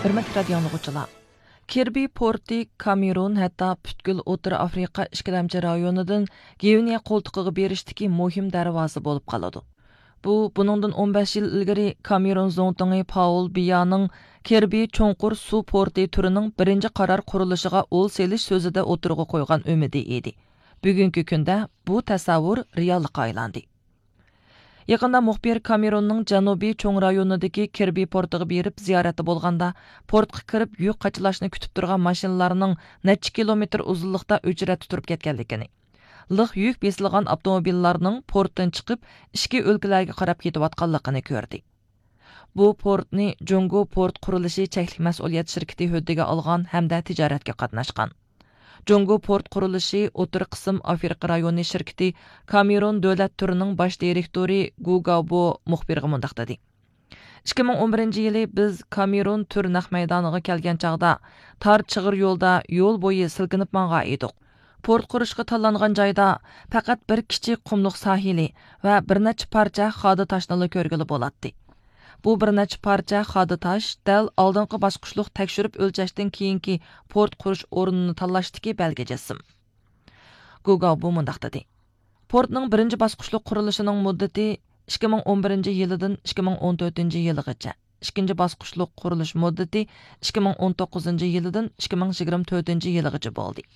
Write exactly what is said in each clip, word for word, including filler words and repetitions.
ھۆرمەتلىك رادىيو ئاڭلىغۇچىلار، كىربى پورتى كامېرون، ھەتتا پۈتكۈل ئوتتۇرا ئافرىقا ئىككىلەمچى رايونىدىن گۋىنېيە قولتۇقىغا بېرىشتىكى مۇھىم دەرۋازا بولۇپ قالىدۇ. بۇ، بۇنىڭدىن ئون بەش يىل ئىلگىرى كامېرون زۇڭتۇڭى پاۋل بىيانىڭ كىربى چوڭقۇر سۇ پورتى تۈرىنىڭ بىرىنچى قارار قۇرۇلۇشىغا ئول سېلىش سۆزىدە ئوتتۇرىغا قويغان ئۈمىدى ئىدى. بۈگۈنكى كۈندە بۇ تەسەۋۋۇر رېئاللىققا ئايلاندى. يېقىندا مۇخبىر كامېروننىڭ جەنۇبىي چوڭ رايونىدىكى كىربى پورتىغا بېرىپ زىيارەتتە بولغاندا، پورتقا كىرىپ يۈك قاچىلاشنى كۈتۈپ تۇرغان ماشىنىلارنىڭ نەچچە كىلومېتىر ئۇزۇنلۇقتا ئۆچرەتتە تۇرۇپ كەتكەنلىكىنى، لىق يۈك بېسىلغان ئاپتوموبىللارنىڭ پورتتىن چىقىپ، ئىچكى ئۆلكىلەرگە قاراپ كېتىۋاتقانلىقىنى كۆردى. بۇ پورتنى جۇڭگو پورت قۇرۇلۇشى چەكلىك مەسئۇلىيەت شىركىتى ھۆددىگە ئالغان ھەمدە تىجارەتكە قاتناشقان. جۇڭگو پورت قۇرۇلۇشى ئوتتۇرا قىسىم ئافرىقا رايونى شىركىتى كامېرون دۆلەت تۈرىنىڭ باش دىرېكتورى گۇ گاۋبو مۇخبىرغا مۇنداق دېدى: «ئىككى مىڭ ئون بىرىنچى يىلى بىز كامېرون تۈر نەق مەيدانىغا كەلگەن چاغدا، تار چىغىر يولدا يول بويى سىلكىنىپ ماڭغان ئىدۇق. پورت قۇرۇشقا تاللانغان جايدا پەقەت بىر كىچىك قۇملۇق ساھىلى ۋە بىر نەچچە پارچە خادا تاشنىلا كۆرگىلى بولاتتى. بۇ بىر نەچچە پارچە خادا تاش دەل ئالدىنقى باسقۇچلۇق تەكشۈرۈپ ئۆلچەشتىن كېيىنكى پورت قۇرۇش ئورنىنى تاللاشتىكى بەلگە جىسىم.» گۇگاۋبو مۇنداق دېدى: «پورتنىڭ بىرىنچى باسقۇچلۇق قۇرۇلۇشىنىڭ مۇددىتى ئىككى مىڭ ئون بىرىنچى يىلىدىن ئىككى مىڭ ئون تۆتىنچى يىلىغىچە، ئىككىنچى باسقۇچلۇق قۇرۇلۇش مۇددىتى ئىككى مىڭ ئون توققۇزىنچى يىلىدىن ئىككى مىڭ يىگىرمە تۆتىنچى يىلىغىچە بولدى.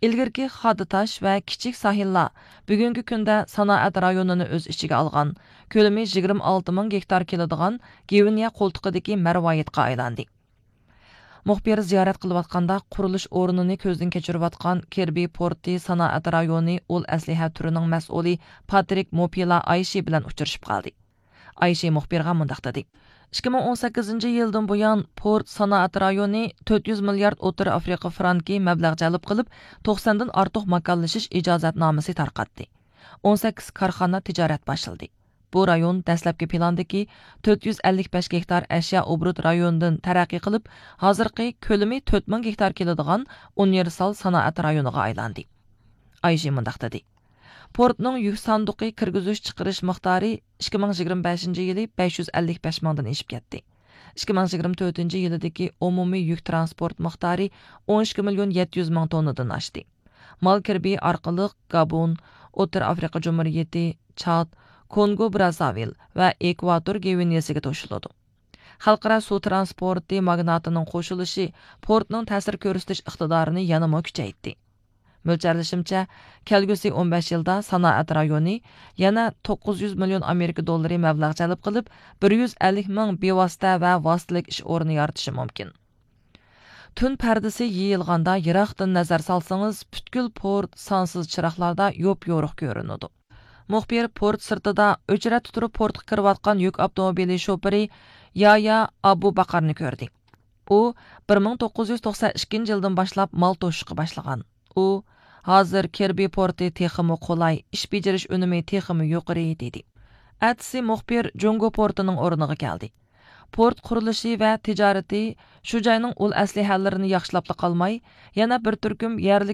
ئىلگىرىكى خادا تاش ۋە كىچىك ساھىللار بۈگۈنكى كۈندە سانائەت رايونىنى ئۆز ئىچىگە ئالغان، كۆلىمى يىگىرمە ئالتە مىڭ گېكتار كېلىدىغان گۋىنېيە قولتۇقىدىكى مەرۋايىتقا ئايلاندى.» مۇخبىر زىيارەت قىلىۋاتقاندا، قۇرۇلۇش ئورنىنى كۆزدىن كەچۈرۈۋاتقان كىربى پورتى سانائەت رايونى ئۇل ئەسلىھە تۈرىنىڭ مەسئۇلى پاترىك موپىلا ئايشى بىلەن ئۇچرىشىپ قالدى. ئايشى مۇخبىرغا مۇنداق دېدى: «ئىككى مىڭ ئون سەككىزىنچى يىلدىن بۇيان، پورت سانائەت رايونى تۆت يۈز مىليارد ئوتتۇرا ئافرىقا فرانكى مەبلەغ جەلپ قىلىپ، توقساندىن ئارتۇق ماكانلىشىش ئىجازەتنامىسى تارقاتتى. ئون سەككىز كارخانا تىجارەت باشلىدى. بۇ رايون دەسلەپكى پىلاندىكى تۆت يۈز ئەللىك بەش گېكتار ئەشيا ئوبوروت رايونىدىن تەرەققىي قىلىپ، ھازىرقى كۆلىمى تۆت مىڭ گېكتار كېلىدىغان ئۇنىۋېرسال سانائەت رايونىغا ئايلاندى.» ئايشى مۇنداق دېدى: «پورتنىڭ يۈك ساندۇقى كىرگۈزۈش چىقىرىش مىقدارى ئىككى مىڭ يىگىرمە بەشىنچى يىلى بەش يۈز ئەللىك بەش مىڭدىن ئېشىپ كەتتى. ئىككى مىڭ يىگىرمە تۆتىنچى يىلىدىكى ئومۇمىي يۈك تىرانسپورت مىقدارى ئون ئىككى مىليون يەتتە يۈز مىڭ توننىدىن ئاشتى. مال كىربى ئارقىلىق گابون، ئوتتۇرا ئافرىقا جۇمھۇرىيىتى، چاد، كونگو برازاۋىل ۋە ئېكۋاتور گۋىنېسىگە توشۇلىدۇ.» خەلقئارا سۇ تىرانسپورتى ماگناتىنىڭ قوشۇلۇشى پورتنىڭ تەسىر كۆرسىتىش ئىقتىدارىنى يەنىمۇ كۈچەيتتى. مۆلچەرلىشىمچە، كەلگۈسى ئون بەش يىلدا سانائەت رايونى يەنە توققۇز يۈز مىليون ئامېرىكا دوللىرى مەبلەغ جەلپ قىلىپ، بىر يۈز ئەللىك مىڭ بىۋاسىتە ۋە ۋاسىتىلىك ئىش ئورنى يارىتىشى مۇمكىن. تۈن پەردىسى يېيىلغاندا، يىراقتىن نەزەر سالسىڭىز، پۈتكۈل پورت سانسىز چىراغلاردا يوپيورۇق كۆرۈنىدۇ. مۇخبىر پورت سىرتىدا ئۆچرەتتە تۇرۇپ پورتقا كىرىۋاتقان يۈك ئاپتوموبىلى شوپۇرى يايا ئابۇ باقارنى كۆردى. ئۇ بىر مىڭ توققۇز يۈز توقسەن ئىككىنچى يىلدىن باشلاپ مال توشۇشقا باشلىغان. ئۇ: «ھازىر كىربى پورتى تېخىمۇ قولاي، ئىش بېجىرىش ئۈنۈمى تېخىمۇ يۇقىرى» دېدى. ئەتىسى مۇخبىر جۇڭگو پورتىنىڭ ئورنىغا كەلدى. پورت قۇرۇلۇشى ۋە تىجارىتى شۇ جاينىڭ ئۇل ئەسلىھەلىرىنى ياخشىلاپلا قالماي، يەنە بىر تۈركۈم يەرلىك